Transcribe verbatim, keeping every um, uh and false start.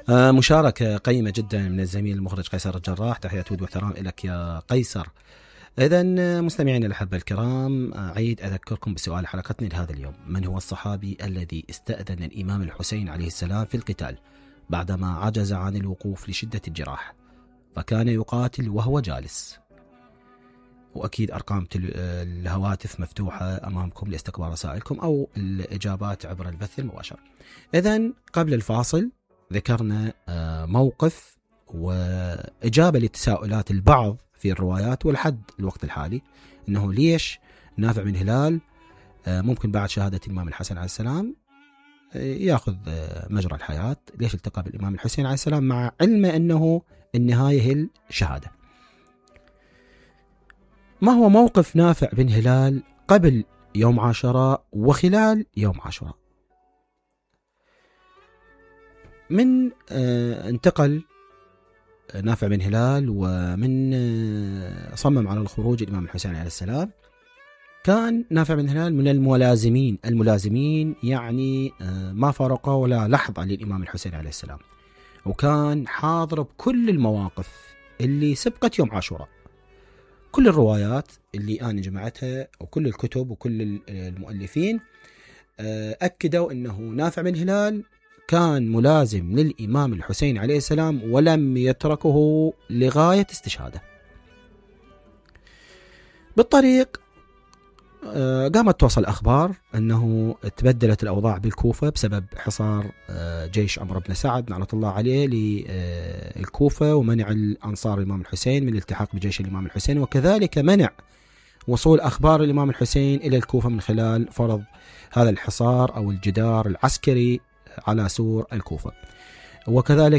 آه مشاركة قيمة جدا من الزميل المخرج قيصر الجراح. تحية ود واحترام لك يا قيصر. إذا مستمعين الأحبة الكرام، أعيد أذكركم بسؤال حلقتنا لهذا اليوم: من هو الصحابي الذي استأذن الإمام الحسين عليه السلام في القتال بعدما عجز عن الوقوف لشدة الجراح فكان يقاتل وهو جالس؟ وأكيد أرقام الهواتف مفتوحة أمامكم لاستقبال رسائلكم أو الإجابات عبر البث المباشر. إذن قبل الفاصل ذكرنا موقف وإجابة لتساؤلات البعض في الروايات والحد الوقت الحالي، أنه ليش نافع بن هلال ممكن بعد شهادة الإمام الحسن عليه السلام يأخذ مجرى الحياة، ليش التقى بالإمام الحسين عليه السلام مع علم أنه النهاية هي الشهادة. ما هو موقف نافع بن هلال قبل يوم عاشوراء وخلال يوم عاشوراء؟ من انتقل نافع بن هلال ومن صمم على الخروج الإمام الحسين عليه السلام، كان نافع بن هلال من الملازمين الملازمين يعني ما فرقه ولا لحظة للإمام الحسين عليه السلام، وكان حاضر بكل المواقف اللي سبقت يوم عاشوراء. كل الروايات اللي أنا جمعتها وكل الكتب وكل المؤلفين أكدوا أنه نافع بن هلال كان ملازم للإمام الحسين عليه السلام ولم يتركه لغاية استشهاده. بالطريق قامت توصل أخبار أنه تبدلت الأوضاع بالكوفة بسبب حصار جيش عمرو بن سعد لعنة الله عليه للكوفة، ومنع الأنصار الإمام الحسين من الالتحاق بجيش الإمام الحسين، وكذلك منع وصول أخبار الإمام الحسين إلى الكوفة من خلال فرض هذا الحصار أو الجدار العسكري على سور الكوفة. وكذلك